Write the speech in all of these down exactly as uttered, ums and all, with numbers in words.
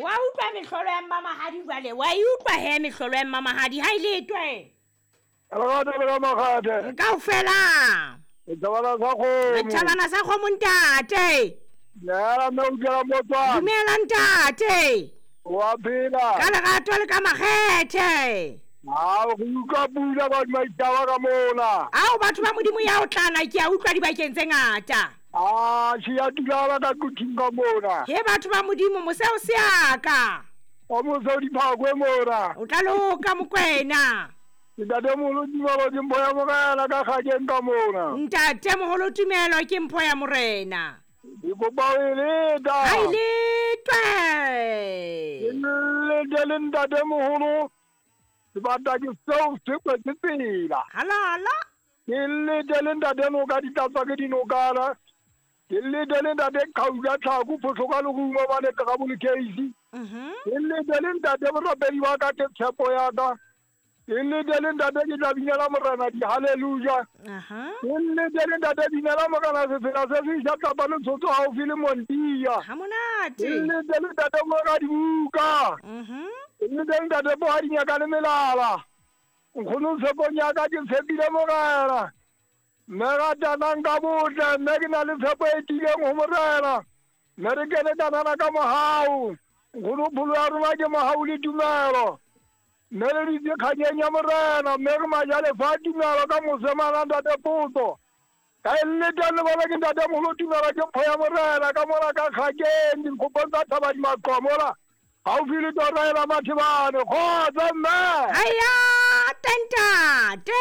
Wa utlwa mehlolo ya mmamahadi jwale, wa e utlwa he mehlolo ya mmamahadi ha e letwe. Lerato le ka makgathe. Kaofela. Setjhabana sa kgomo. Setjhabana sa kgomo ntate. Dumela mme o dula motswana. Dumela ntate. Wa phela. Ka lerato le ka makgethe. Ao re utlwa pula ba maitaba ka mona. Ao batho ba Modimo ya o tlala ke a utlwa dibakeng tse ngata. Ah, si ya dula ka kuthing ka mona. He batho ba Modimo moseo se aka. O moseo di phakwe mona. O tla loka Mokwena. Ntate moholo Tumelo ke mpho ya Morena ka kgakeng ka mona. Ntate moholo Tumelo ke mpho ya Morena. Ke kopa o e leta. Ha e letwe. Ke lete le ntate moholo. Sebata ke seo se kwetse tsela. Halala. Ke lete le ntate noka di tlatswa ke dinokana. Ke lete le ntate Khauka Tlhako phoso ka lerumo ba le Trouble Case. Mhm. Ke lete le ntate borapedi wa ka ke tshepo ya ka. Ke lete le ntate ke tla binela Morena di hallelujah. Aha. Ke lete le ntate binela Morena sefela se se ja tlapa le tshotso haufi le Montia. Ha monate. Ke lete le ntate mo ka dibuka. Mhm. Ke lete le ntate bo ha dinyaka le melala. Nkgono tshepong ya ka ke tshepile Morena. Mme ratanang ka botle, mme ke na le tshepo e tiileng ho Morena. Mme re kene kanana ka mohau. Nkgono pholo ya rona ke mohau le tumelo. Mme re ditse kganyeng ya Morena, mme re majalefa a tumelo ka mosemana ntate Potso. Ka e leta le bona ke ntate moholo Tumelo ke mpho ya Morena ka mona ka kgakeng dikgopong tsa Thaba di Maqomo haufi le tora ela Mathebane. Kgotso mme. Haya ntate.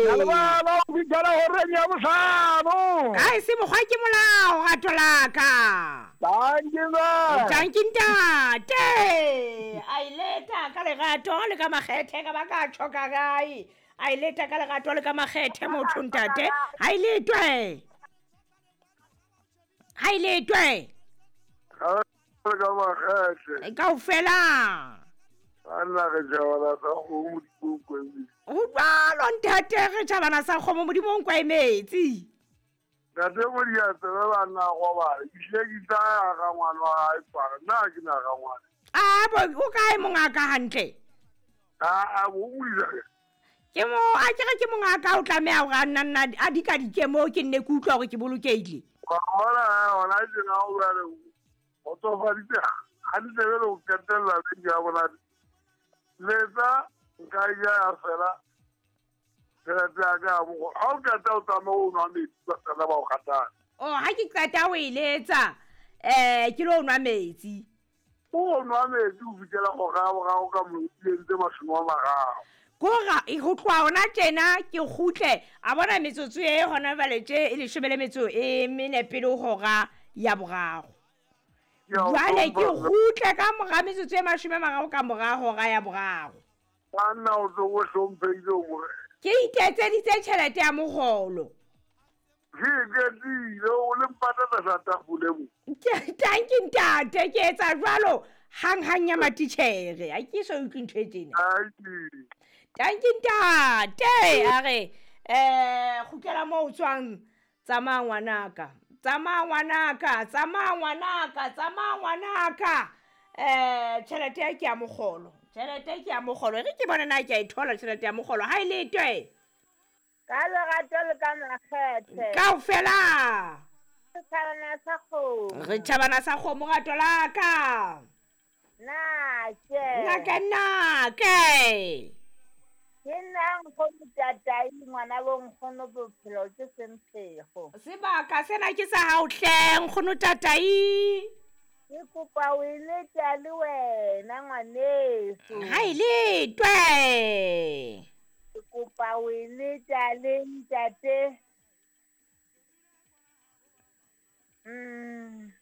Ka lebala ho fihlela horeng ya bohlano. Ka e se mokgwa ke molao rato la ka. Tanki mme. Tanki ntate. A e leta ka lerato le ka makgethe ka ba ka tjho ka kae. A e leta ka lerato le ka makgethe motho ntate. Ha e letwe. Ha e letwe. Ka makgethe. Kaofela. Anna re tjhabana sa kgomo Modimo o nkwemetse. Ho jwalo ntate re tjhabana sa kgomo Modimo o nkwemetse. Ntate Modiatse ba banna robala. Ke hlile ke tla ya ga ngwana wa hae para. Nna ha ke na ga ngwana. Ah bo o kae mongaka hantle? Ah ah bo o Ke mo a ke re ke mongaka o tlameha hore a nna nna a dika dikemo ke nne ke utlwa hore ke bolokehile. Wa bona hona tjena o jwale o tsofaditse hantle jwale o qetella beke ya bona. Letsa nka ja ya fela tjhelete ya ka ya mokgolo. Ha o qeta o tsamaye o nwa metsi ba sala ba o kgathala. Oh ha ke qeta ho e letsa eh ke lo nwa metsi. O nwa metsi o fihlela hora ya boraro ka motseng tse mashome a mararo. Kora e ho tloha hona tjena ke kgutle a bona metsotso e hona jwale tje e leshome le metso e mene pele ho hora ya boraro. Jwale ke kgutle ka mora metsotso e mashome a mararo ka mora hora ya boraro. Banna o tlo o hlomphehile hore. Ke iketseditse tjhelete ya mokgolo. Ke iketsile o le mpatata sa tafole mo. Ke tanki ntate ke etsa jwalo hang hang ya matitjhere. Ha ke so utlwe ntho e tjena. Tanki ntate a re eh kgutlela moo o tswang tsamaya ngwanaka. Tsamaya ngwanaka, tsamaya ngwanaka, tsamaya ngwanaka. Eh tjhelete ya ke ya mokgolo. Tjhelete ke ya mokgolo. Re ke bona na ke a e thola tjhelete ya mokgolo. Ha e letwe. Ka lerato le ka makgethe. Kaofela. Setjhabana sa kgomo. Re tjhabana sa kgomo rato la ka. Nake. Nake nake. Ke nna nkgono Tatai ngwana bo nkgono bophelo ke semphego. Sebaka sena ke sa hao hle nkgono Tatai. Ke kopa o e leta le wena ngwaneso. Ha e letwe. Ke kopa o e leta le ntate. Mm.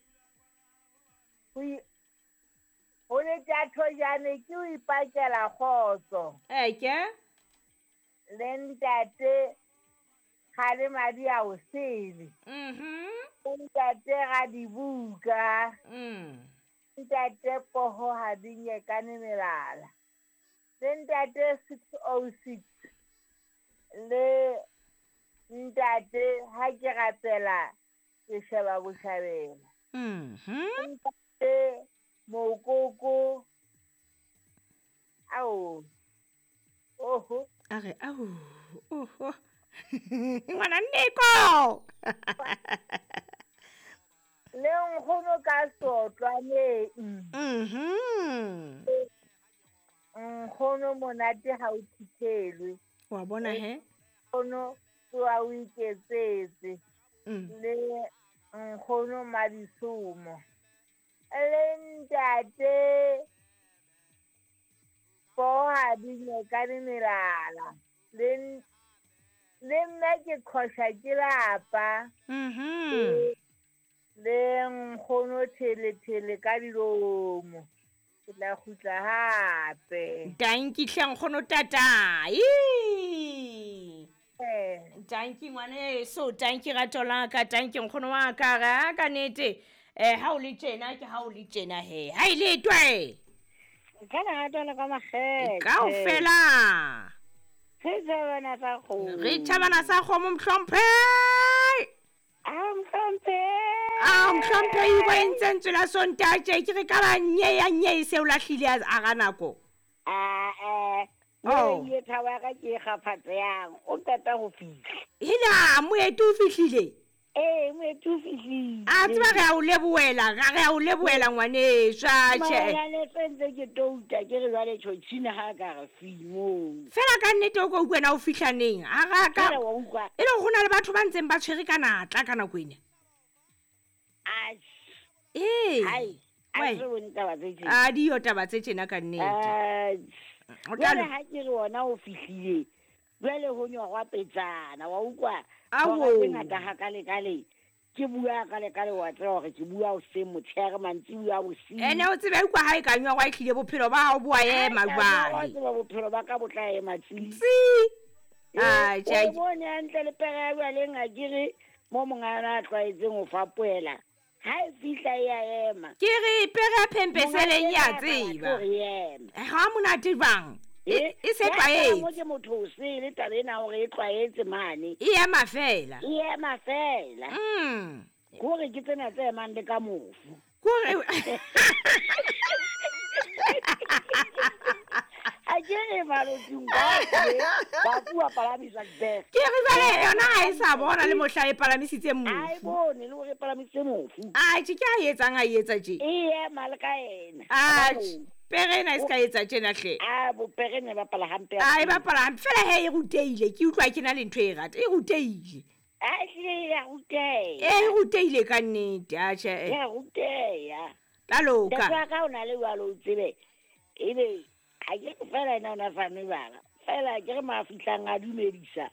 Ho leta thojane ke o ipakela kgotso. Eke. Le ntate ga le madi a o sele. Mhm. Ntate ga dibuka. Mm. Ntate poho ha di nyekane melala. Le ntate six oh six. Le ntate ha ke rapela ke sheba boshabela. Mhm. Ntate Mokoko. Ao. Oho. A re ao. Oho. Ngwana Nneko. Le nkgono ka sotlwaneng. Mhm. Nkgono monate ha o thithelwe. Wa bona he? Nkgono tsoa o iketsetse. Mm. Le nkgono Madisomo. Le ntate Poha dinyekane melala. Le le nna ke khosha ke lapa. Mhm. Le nkgono thele thele ka dilomo. Ke tla kgutla hape. Danki hle nkgono tatai. Eh. Danki ngwaneso, danki rato la ka, danki nkgono wa ka ga ka nnete. Eh ha o le tjena ke ha o le tjena he. Ha ile twe. Ka lerato la ka makgethe. Kaofela. Re tjhabana sa kgomo. Re tjhabana sa kgomo mohlomphe. A mohlomphe. A mohlomphe e bo entse ntswe la Sontaje ke re ka ba nye ya nye e se o lahlile a ga nako. A eh Oh. Ye thaba ya ka ke e kgaphatsehang, o qeta ho fihla. Hela moeti o fihlile. Ee, moeti o fihlile. A tseba re a o lebohela, ga re a o lebohela ngwaneso, atjhe. Maobane se ntse ke touta ke re jwale tjhotjhina ha ka re fi moo. Fela ka nnete o ko utlwe na o fihla neng? A ga ka Fela wa utlwa. E le hore ho na le batho ba ntseng ba tshwere ka natla ka nako ena. Atjhe. Ee. Hai, a Wai. se bone taba tse tjena. A diyo taba tse tjena ka nnete. Atjhe. O tla Jwale lo- ha ke re ona o fihlile, jwale ho nyorwa petsana, wa utlwa? Ao. Hora tse ngata hakalekale, ke bua hakalekale wa tseba hore ke bua hoseng motshehare, mantsibuya bosiu. Ene o tsebe utlwa ha e ka nyorwa e hlile bophelo ba hao bo a ema Ha e ka nyorwa, jwale. tseba bophelo ba ka bo tla ema tsi. Tsi. Eh, Atjhe, o bone hantle le pere ya jwaleng ha ke re mo monga yona a tlwaetseng ho fapohela. Ha e fihla e a ema. Ke re pere ya phempeseleng Monga ya ena a batla tseba. hore e eme. Ha monate jwang? E Eh, e se ya tlwaetse. mo ke motho o sele taba ena hore e tlwaetse mane. E ema fela. E ema fela. Mm. Ke hore ke tsena tse emang le ka mofu. Kore Ha ke re malotsing kaofela, bafu ba palamiswa dibese. Ke re jwale yona ha e sa bona le mohla e palamisitse Ha e mofu. bone le hore e palamisitse mofu. Atjhe, ke a etsang a etsa tje. E ema le ka yena. Atjhe, pere ena e se ka etsa tjena hle. A bo pere ne bapala hampe. A e bapala hampe fela he e rutehile, ke utlwa ke na le ntho e rata. E rutehile. A ehlile ya ruteha. E rutehile ka nnete, atjhe. Ya ruteha. Tla loka. Ntate wa ka o na le jwalo o tsebe. Ebe ha ke re fela ena o na sa nwe jwala. Fela ke re ma fihlang a dumedisa.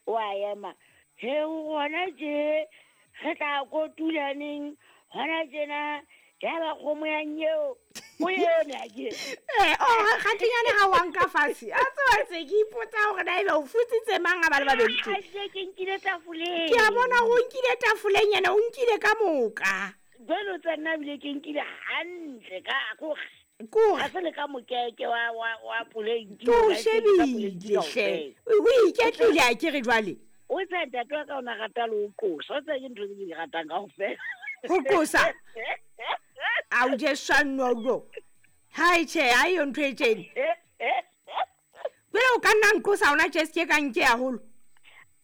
O a ema. He o hona tje re tla kotula neng hona tjena ya ba kgomo ya nyeo. O eme ha ke. Eh, oh, kgatinyane ha wa nka fatshe. A tseba se ke ipotsa hore na ebe o futsitse mang a ba le babedi tje. Ha se ke nkile tafoleng. Ke a bona hore o nkile tafoleng yena, o nkile ka moka. Jwale o tsa nna ebile ke nkile hantle ka kore. Kore. Ha se le ka mokeke wa, wa, wa poleiti, Ke o wa ke ka shebile poleiti hle. kaofela. O iketlile ha ke re jwale. O tsa ntate wa ka o na rata le ho qosa. O tsa ke ntho tse ke di ratang kaofela. Ho qosa? A o je swanolo. Hai tjhe, ha eyo ntho e tjena. Jwale o ka nna nqosa hona tje, se ke ka nke haholo.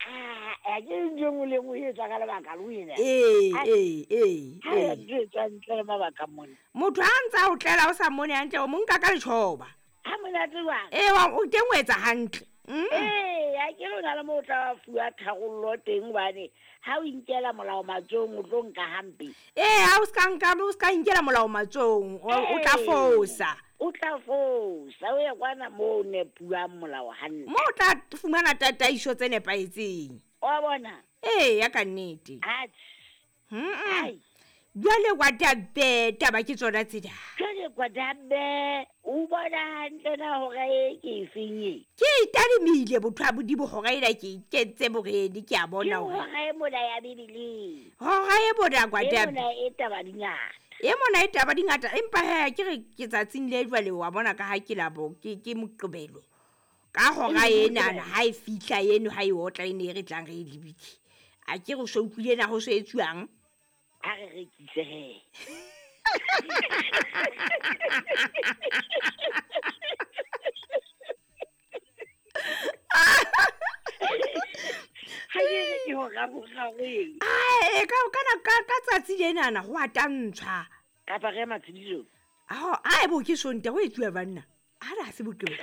Ah, a ke ntho e nngwe le e nngwe e etswa ka lebaka le wena. Ee, Ai. ee, ee, Ha ya ee. ntho e etswang ntle le mabaka mona. Motho ha ntse a o tlela o sa mmone hantle, o mo nka ka letjhoba. Ha monate jwang? Ee, wa, o teng o etsa hantle. Mm. Ee, ha ke re o na le moo o tla fuwa tharollo teng hobane ha o inkela molao matsohong o tlo nka hampe. Ee, ha o ska nka, o ska inkela molao matsohong, o, o tla Ee. fosa. O tla fosa, o ye kwana moo o nepuwang molao hantle. Moo o tla fumana tataiso tse nepahetseng. Wa bona? Ee, ya ka nnete. Atjhe. Mm-mm. Ai. Jwale wa tabe, taba ke tsona tsena. Jwale kwa tabe, o bona hantle na hora e ke e feng e? Ke itadimile botho ba Modimo hora ena ke ikentse boredi, ke a Ke bona hore hora e mona ya Bibeleng. Hora e mona kwa E tabe. mona e taba di ngata. E mona e taba di ngata, empa he ke re ke tsatsing le jwale wa bona ka ha ke labo, ke, ke Moqebelo. Ka hora E enana, Moqebelo. ha e fihla eno, ha e otla e ne e re tlang re e lebile. A ke re o so utlwile na ho so etsuwang? Ha re rekise he. Ha ke re ke ho raborabeng. Ae, ka kana ka ka tsatsi lenana ho a tantshwa. Kapa re matshediso. Ao, ae bo ke Sontaha ho etsuwa banna. Ha re ha se boqebo.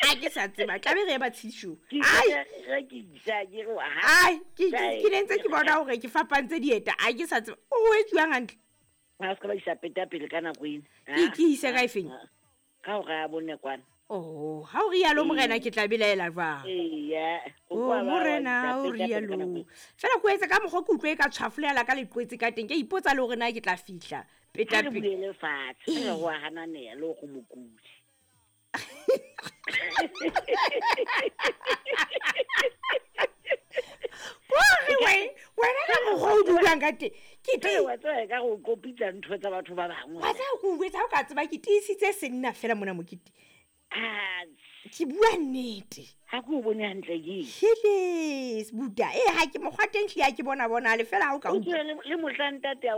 A ke sa tseba, tlabe re ye matshedisong. Ke Ai, re ke isa ke re ha. ai, ke ke ke ne ntse ke bona hore ke fapantse dieta. A ke sa tseba. O etsuwang hantle? Ha se ka ba isa peta pele ka nako ena. Ke ke ise ka efeng? Ka hora ya bone kwana. Oh, ha o rialo morena ke tla belaela jwang? Eya. O morena o rialo. Fela ko etsa ka mokgwa ke utlwe e ka tshwafolela ka leqwetse ka teng. Ke a ipotsa le hore na ke tla fihla peta Re pele. buele fatshe. Re ho a hananeha le go mokudi. Kore we- wena ka mokgwa o dulang ka teng. Ke Ke ti wa tseba ka go kopitsa ntho tsa batho ba bangwe. wa tseba ke o jwetsa ha o ka tseba ke tiisitse senna fela mona mokete. Ah, Ke bua nnete. ha ke o bone hantle ke eng? Hele, sebuta. Eh ha ke mokgwa teng hlile ha ke bona bona le fela ha o ka O utlwa. tsebe le le mohla ntate a